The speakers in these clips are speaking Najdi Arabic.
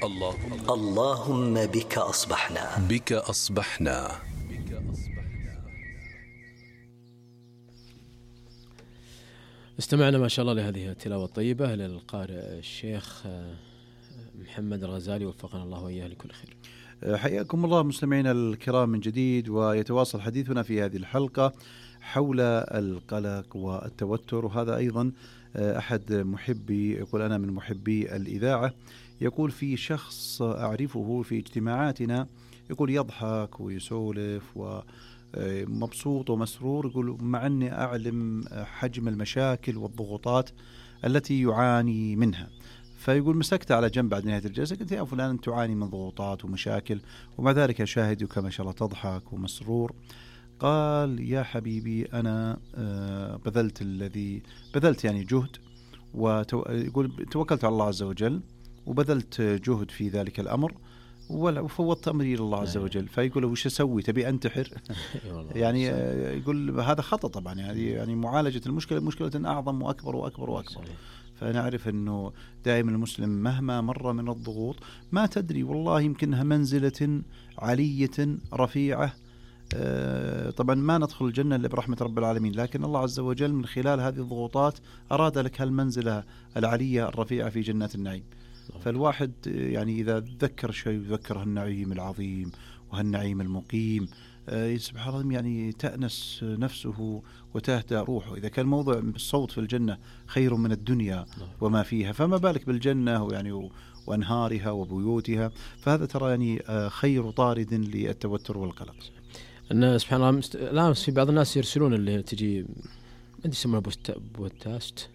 اللهم بك أصبحنا. بك أصبحنا. استمعنا ما شاء الله لهذه التلاوة الطيبة للقارئ الشيخ محمد الغزالي، وفقنا الله وإياه لكل خير. حياكم الله مستمعينا الكرام من جديد، ويتواصل حديثنا في هذه الحلقة حول القلق والتوتر. وهذا أيضا أحد محبي، يقول أنا من محبي الإذاعة، يقول في شخص أعرفه في اجتماعاتنا يقول يضحك ويسولف ومبسوط ومسرور، يقول مع أني أعلم حجم المشاكل والضغوطات التي يعاني منها. فيقول مسكت على جنب بعد نهاية الجلسة، قلت يا فلان أنت تعاني من ضغوطات ومشاكل ومع ذلك أشاهدك ما شاء الله تضحك ومسرور. قال يا حبيبي أنا بذلت يعني جهد، ويقول توكلت على الله عز وجل وبذلت جهد في ذلك الأمر وفوضت أمري إلى الله عز وجل. فيقول وش أسوي، تبي أنتحر؟ يعني يقول هذا خطأ طبعا، يعني معالجة المشكلة مشكلة أعظم وأكبر وأكبر وأكبر. فنعرف أنه دائما المسلم مهما مر من الضغوط ما تدري والله يمكنها منزلة علية رفيعة. طبعا ما ندخل الجنة إلا برحمة رب العالمين، لكن الله عز وجل من خلال هذه الضغوطات أراد لك هالمنزلة العلية الرفيعة في جنات النعيم. فالواحد يعني إذا ذكر شيء يذكر هالنعيم العظيم وهالنعيم المقيم، سبحان الله يعني تأنس نفسه وتهدأ روحه. إذا كان موضع الصوت في الجنة خير من الدنيا وما فيها، فما بالك بالجنة يعني وأنهارها وبيوتها. فهذا ترى يعني خير طارد للتوتر والقلق. أن سبحان الله لا في بعض الناس يرسلون اللي تجي ما أدري يسمونه بودكاست.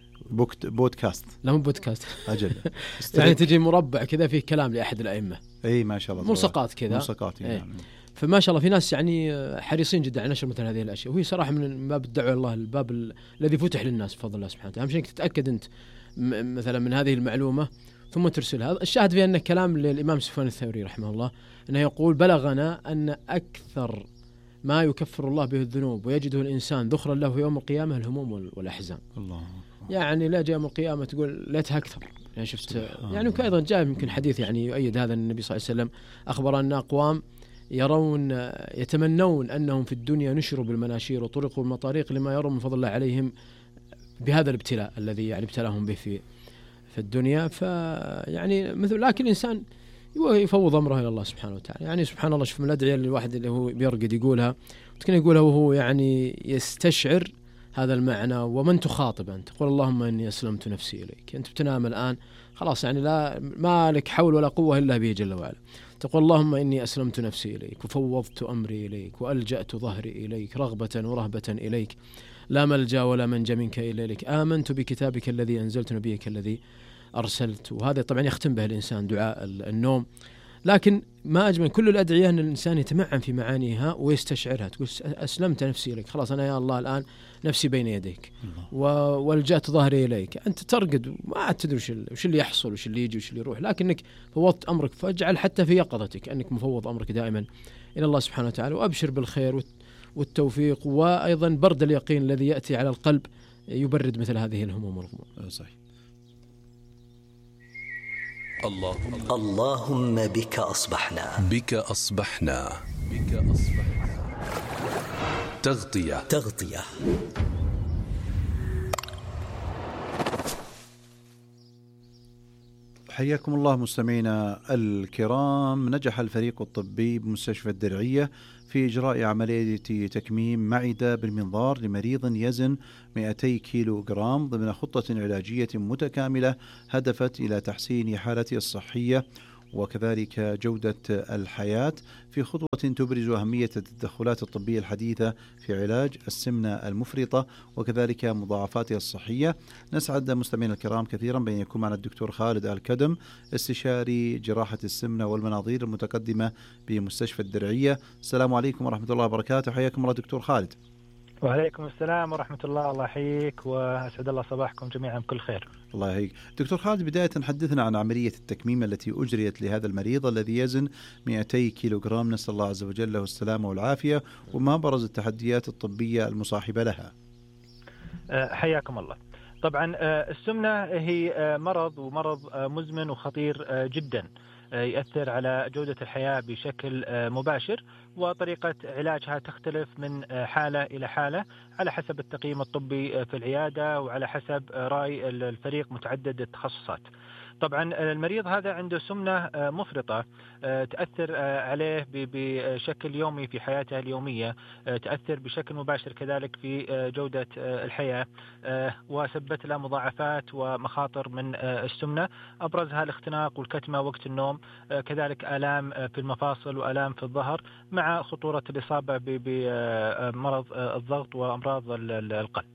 لا مو بودكاست أجل يعني تجي مربع كذا فيه كلام لأحد الأئمة، أي ما شاء الله، ملصقات كذا، ملصقات يعني. فما شاء الله في ناس يعني حريصين جدا على نشر مثل هذه الأشياء، وهي صراحة من باب الدعوة إلى الله، الباب الذي فتح للناس بفضل الله سبحانه وتعالى. أهم شيء تتأكد أنت مثلا من هذه المعلومة ثم ترسلها. الشاهد في أن كلام للإمام سفيان الثوري رحمه الله أنه يقول بلغنا أن أكثر ما يكفر الله به الذنوب ويجده الإنسان ذخرا له يوم القيامة الهموم والأحزان. الله يعني لا جاء يوم القيامة تقول ليتها أكثر. يعني شفت يعني وأيضا جاء يمكن حديث يعني يؤيد هذا، النبي صلى الله عليه وسلم أخبر أن أقوام يتمنون أنهم في الدنيا نشروا بالمناشير وطرقوا المطاريق لما يروا من فضل الله عليهم بهذا الابتلاء الذي يعني ابتلاهم به في الدنيا. فيعني مثل لكن الإنسان يفوض أمره إلى الله سبحانه وتعالى. يعني سبحان الله شوف من الأدعية اللي الواحد اللي هو بيرقد يقولها وتكون يقولها وهو يعني يستشعر هذا المعنى. ومن تخاطب أنت تقول اللهم إني أسلمت نفسي إليك، أنت بتنام الآن خلاص يعني لا ما لك حول ولا قوة إلا به جل وعلا. تقول اللهم إني أسلمت نفسي إليك وفوضت أمري إليك وألجأت ظهري إليك رغبة ورهبة إليك، لا ملجأ ولا منجا منك إلا إليك، آمنت بكتابك الذي أنزلت نبيك الذي أرسلت. وهذا طبعا يختم به الإنسان دعاء النوم. لكن ما أجمل كل الأدعية أن الإنسان يتمعن في معانيها ويستشعرها. تقول أسلمت نفسي إليك، خلاص أنا يا الله الآن نفسي بين يديك والجأت ظهري إليك. أنت ترقد ما تدري وش اللي يحصل وش اللي يجي وش اللي يروح، لكنك فوضت أمرك. فاجعل حتى في يقظتك أنك مفوض أمرك دائما إلى الله سبحانه وتعالى، وأبشر بالخير والتوفيق، وأيضا برد اليقين الذي يأتي على القلب يبرد مثل هذه الهموم والغموم. صحيح. اللهم بك أصبحنا. بك أصبحنا. تغطية. حياكم الله مستمعينا الكرام. نجح الفريق الطبي بمستشفى الدرعية في إجراء عملية تكميم معدة بالمنظار لمريض يزن 200 كيلو جرام ضمن خطة علاجية متكاملة هدفت إلى تحسين حالته الصحية وكذلك جودة الحياة، في خطوة تبرز أهمية التدخلات الطبية الحديثة في علاج السمنة المفرطة وكذلك مضاعفاتها الصحية. نسعد مستمعينا الكرام كثيرا بأن يكون معنا الدكتور خالد الكدم، استشاري جراحة السمنة والمناظير المتقدمة بمستشفى الدرعية. السلام عليكم ورحمة الله وبركاته. حياكم الله دكتور خالد. وعليكم السلام ورحمة الله. الله يحييك وأسعد الله صباحكم جميعا بكل خير. الله يحييك دكتور خالد. بداية حدثنا عن عملية التكميم التي أجريت لهذا المريض الذي يزن 200 كيلوغرام، نسأل الله عز وجل له السلامة والعافية، وما برز التحديات الطبية المصاحبة لها. حياكم الله. طبعا السمنة هي مرض مزمن وخطير جدا. يؤثر على جودة الحياة بشكل مباشر، وطريقة علاجها تختلف من حالة إلى حالة على حسب التقييم الطبي في العيادة وعلى حسب رأي الفريق متعدد التخصصات. طبعا المريض هذا عنده سمنة مفرطة تأثر عليه بشكل يومي في حياته اليومية، تأثر بشكل مباشر كذلك في جودة الحياة، وسببت له مضاعفات ومخاطر من السمنة، أبرزها الاختناق والكتمة وقت النوم، كذلك آلام في المفاصل وآلام في الظهر، مع خطورة الإصابة بمرض الضغط وأمراض القلب.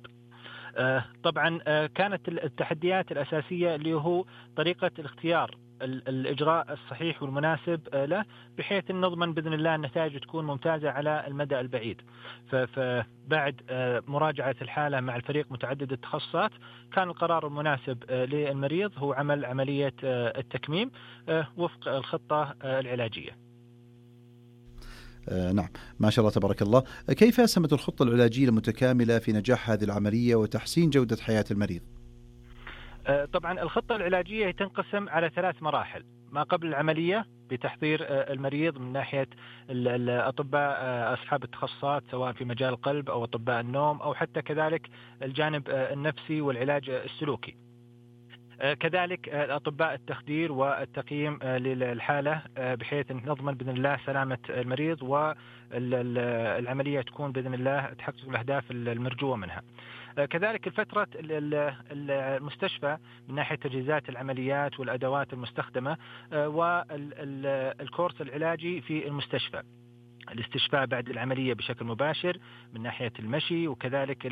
طبعا كانت التحديات الأساسية اللي هو طريقة الاختيار الإجراء الصحيح والمناسب له، بحيث أن نضمن بإذن الله النتائج تكون ممتازة على المدى البعيد. فبعد مراجعة الحالة مع الفريق متعدد التخصصات، كان القرار المناسب للمريض هو عمل عملية التكميم وفق الخطة العلاجية. نعم، ما شاء الله تبارك الله. كيف أسهمت الخطة العلاجية المتكاملة في نجاح هذه العملية وتحسين جودة حياة المريض؟ طبعا الخطة العلاجية تنقسم على 3 مراحل. ما قبل العملية بتحضير المريض من ناحية الأطباء أصحاب التخصصات، سواء في مجال القلب أو أطباء النوم أو حتى كذلك الجانب النفسي والعلاج السلوكي. كذلك أطباء التخدير والتقييم للحالة، بحيث نضمن بإذن الله سلامة المريض والعملية تكون بإذن الله تحقق الأهداف المرجوة منها. كذلك الفترة المستشفى من ناحية تجهيزات العمليات والأدوات المستخدمة، والكورس العلاجي في المستشفى، الاستشفاء بعد العملية بشكل مباشر من ناحية المشي، وكذلك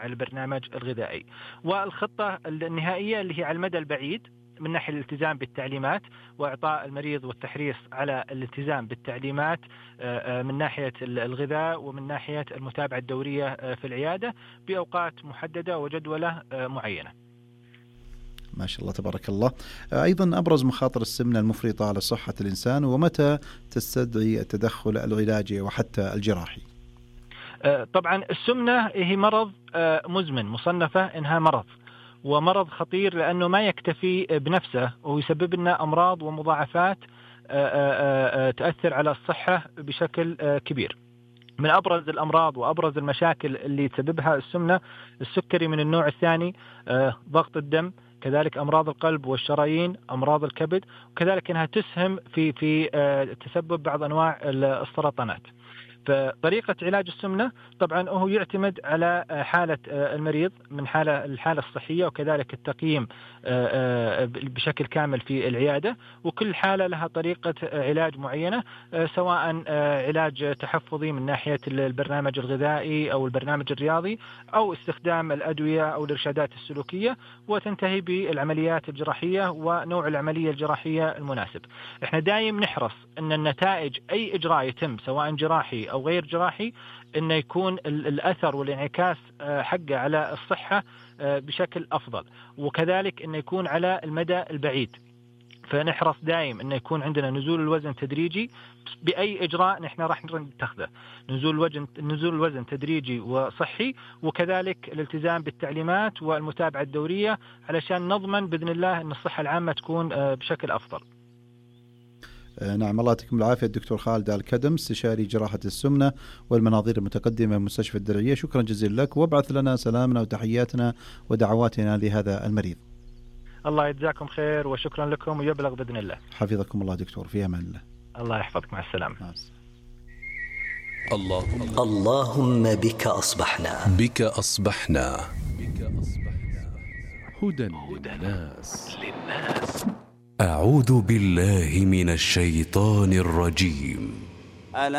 البرنامج الغذائي، والخطة النهائية اللي هي على المدى البعيد من ناحية الالتزام بالتعليمات وإعطاء المريض والتحريص على الالتزام بالتعليمات من ناحية الغذاء ومن ناحية المتابعة الدورية في العيادة بأوقات محددة وجدولة معينة. ما شاء الله تبارك الله. أيضا أبرز مخاطر السمنة المفرطة على صحة الإنسان، ومتى تستدعي التدخل العلاجي وحتى الجراحي؟ طبعا السمنة هي مرض مزمن، مصنفة إنها مرض، ومرض خطير لأنه ما يكتفي بنفسه ويسبب لنا أمراض ومضاعفات تؤثر على الصحة بشكل كبير. من أبرز الأمراض وأبرز المشاكل اللي تسببها السمنة السكري من النوع الثاني، ضغط الدم، كذلك أمراض القلب والشرايين، أمراض الكبد، وكذلك أنها تسهم في تسبب بعض أنواع السرطانات. فطريقة علاج السمنة طبعا هو يعتمد على حالة المريض من الحالة الصحية، وكذلك التقييم بشكل كامل في العيادة، وكل حالة لها طريقة علاج معينة، سواء علاج تحفظي من ناحية البرنامج الغذائي أو البرنامج الرياضي، أو استخدام الأدوية أو الإرشادات السلوكية، وتنتهي بالعمليات الجراحية ونوع العملية الجراحية المناسب. احنا دايم نحرص أن النتائج أي إجراء يتم سواء جراحي أو غير جراحي إنه يكون الأثر والانعكاس حقه على الصحة بشكل أفضل، وكذلك إنه يكون على المدى البعيد. فنحرص دائم إنه يكون عندنا نزول الوزن تدريجي بأي إجراء نحن راح نتخذه، نزول الوزن تدريجي وصحي، وكذلك الالتزام بالتعليمات والمتابعة الدورية علشان نضمن بإذن الله أن الصحة العامة تكون بشكل أفضل. نعم، الله يعطيكم العافية الدكتور خالد الكدم، استشاري جراحة السمنة والمناظير المتقدمة بمستشفى الدرعية. شكرا جزيلا لك، وابعث لنا سلامنا وتحياتنا ودعواتنا لهذا المريض. الله يجزاكم خير وشكرا لكم، ويبلغ بإذن الله. حفظكم الله دكتور، في أمان الله. الله يحفظك، مع السلامة. اللهم بك أصبحنا. بك أصبحنا. هدى للناس. أعوذ بالله من الشيطان الرجيم.